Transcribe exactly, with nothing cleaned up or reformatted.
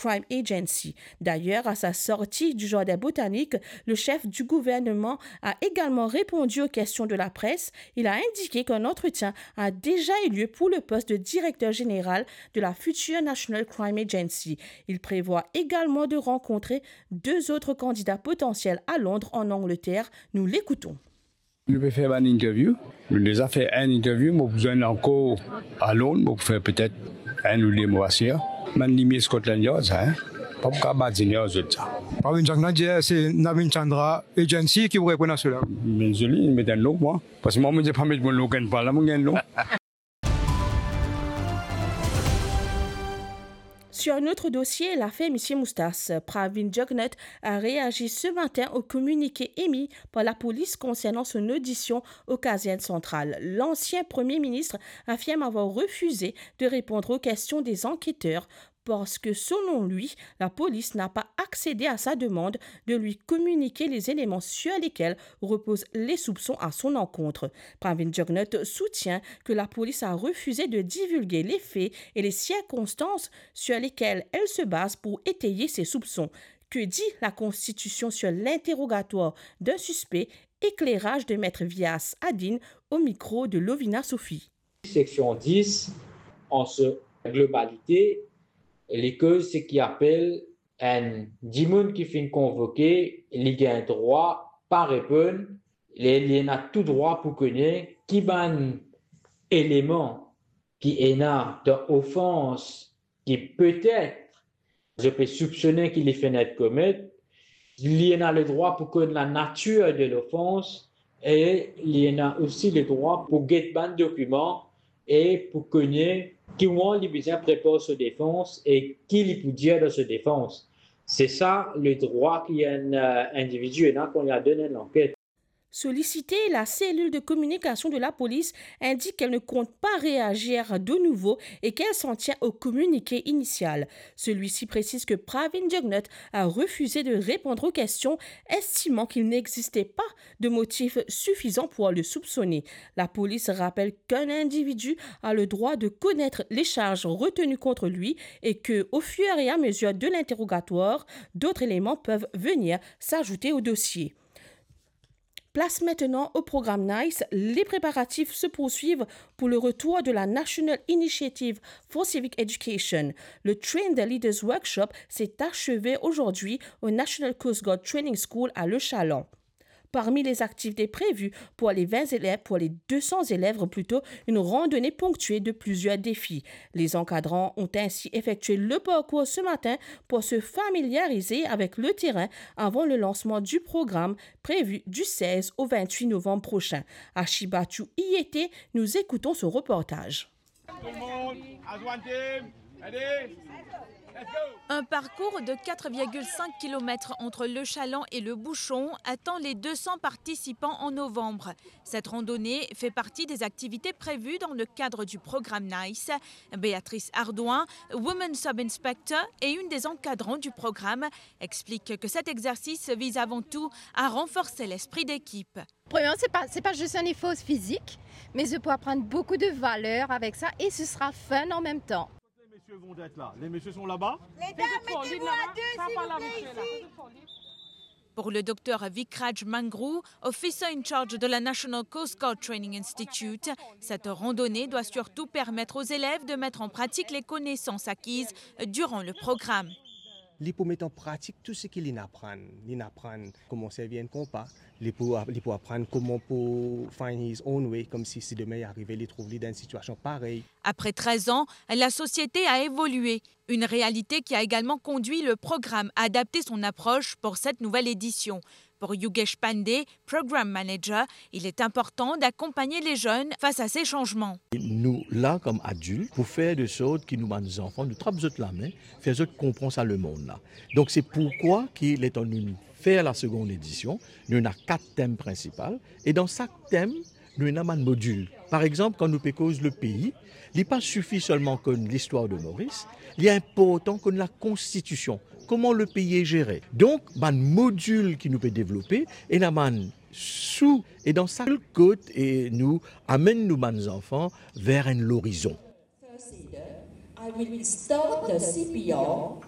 Crime Agency. D'ailleurs, à sa sortie du jardin botanique, le chef du gouvernement a également répondu aux questions de la presse. Il a indiqué qu'un entretien a déjà eu lieu pour le poste de directeur général de la future National Crime Agency. Il prévoit également de rencontrer deux autres candidats potentiels à Londres, en Angleterre. Nous l'écoutons. Nou pe fer bann interview. Nou deza fer enn interview, mo pou zwenn ankor a Londres, mo pou fer petet enn ou de mwa sir. Bann limie Scotland Yard sa, hein? Pa pou kapav badinn ar zot sa. Pravin Jagannath dir se Navin Chandra Agency ki pou reponn a sela. Me zoli, met enn nom mwa. Parski mwa, mo dir pa met mo nom, gagn pa la, mo gagn nom. Sur un autre dossier, l'affaire Monsieur Moustache, Pravin Jugnauth a réagi ce matin au communiqué émis par la police concernant son audition au Caserne Centrale. L'ancien Premier ministre affirme avoir refusé de répondre aux questions des enquêteurs parce que, selon lui, la police n'a pas accédé à sa demande de lui communiquer les éléments sur lesquels reposent les soupçons à son encontre. Pravin Jugnauth soutient que la police a refusé de divulguer les faits et les circonstances sur lesquelles elle se base pour étayer ses soupçons. Que dit la Constitution sur l'interrogatoire d'un suspect? Éclairage de Maître Vias Adine au micro de Lovina Sophie. Seksion dis, an so globalite, li koz seki apel enn dimoun ki finn konvoke, li gagn drwa pa reponn, li, li ena tou drwa pou kone ki bann eleman ki ena dan ofans ki petet zot pe soupsone ki li finn komet, li ena ledrwa pou konn lanatir de lofans e li ena osi ledrwa pou get bann dokiman e pou kone ki moman li bizin prepar so defans e ki li pou dir dan so defans. Se sa ledrwa ki enn, euh, individi ena kan li al donn enn lanket. Sollicitée, la cellule de communication de la police indique qu'elle ne compte pas réagir de nouveau et qu'elle s'en tient au communiqué initial. Celui-ci précise que Pravin Jugnauth a refusé de répondre aux questions, estimant qu'il n'existait pas de motif suffisant pour le soupçonner. La police rappelle qu'un individu a le droit de connaître les charges retenues contre lui et que, au fur et à mesure de l'interrogatoire, d'autres éléments peuvent venir s'ajouter au dossier. Place maintenant au programme NICE. Les préparatifs se poursuivent pour le retour de la National Initiative for Civic Education. Le Train the Leaders Workshop s'est achevé aujourd'hui au National Coast Guard Training School à Le Chaland. Parmi les activités prévues pour les vingt élèves, pour les deux cents élèves plutôt, une randonnée ponctuée de plusieurs défis. Les encadrants ont ainsi effectué le parcours ce matin pour se familiariser avec le terrain avant le lancement du programme prévu du seize au vingt-huit novembre prochain. Ashi Batchou y était, nous écoutons son reportage. Tout le monde, as one team, ready? Let's go! Un parcours de quatre virgule cinq kilomètres entre Le Chaland et Le Bouchon attend les deux cents participants en novembre. Cette randonnée fait partie des activités prévues dans le cadre du programme NICE. Béatrice Ardouin, Women Sub-Inspector et une des encadrantes du programme, explique que cet exercice vise avant tout à renforcer l'esprit d'équipe. Premièrement, c'est pas, c'est pas juste un effort physique, mais c'est pour apprendre beaucoup de valeurs avec ça et ce sera fun en même temps. Les messieurs vont être là. Les messieurs sont là-bas. Les dames, mettez-vous à deux, s'il vous plaît, ici. Pour le docteur Vikraj Mangroo, officer in charge de la National Coast Guard Training Institute, cette randonnée doit surtout permettre aux élèves de mettre en pratique les connaissances acquises durant le programme. Li pou met an pratik tou seki li'nn aprann. Li'nn aprann kouma servi enn konpa. Li pou, li pou aprann kouma pou find his own way, koumsi si demin li arive, li trouv li dan enn sitiasion parey. Après treize ans, la société a évolué. Une réalité qui a également conduit le programme à adapter son approche pour cette nouvelle édition. Pour Yogesh Pandey, Program Manager, il est important d'accompagner les jeunes face à ces changements. Nou la kom adilt pou fer de sort ki nou bann zanfan, nou trap zot lame, fer zot konpran sa lemond la. Donk se poukwa ki letan nou fer la segonn edision, nou ena kat tem prinsipal, e dan sak tem, nou ena bann modil. Par exanp, kan nou pe koz lepei, li pa sifi selman konn listwar de Moris, li inportan konn lakonstitision, kouma lepei est géré. Donk, bann modil ki nou pe devlope, ena bann sou, e dan sak kot, e nou amenn nou bann zanfan ver enn lorizon. First aid, I will start the C P R.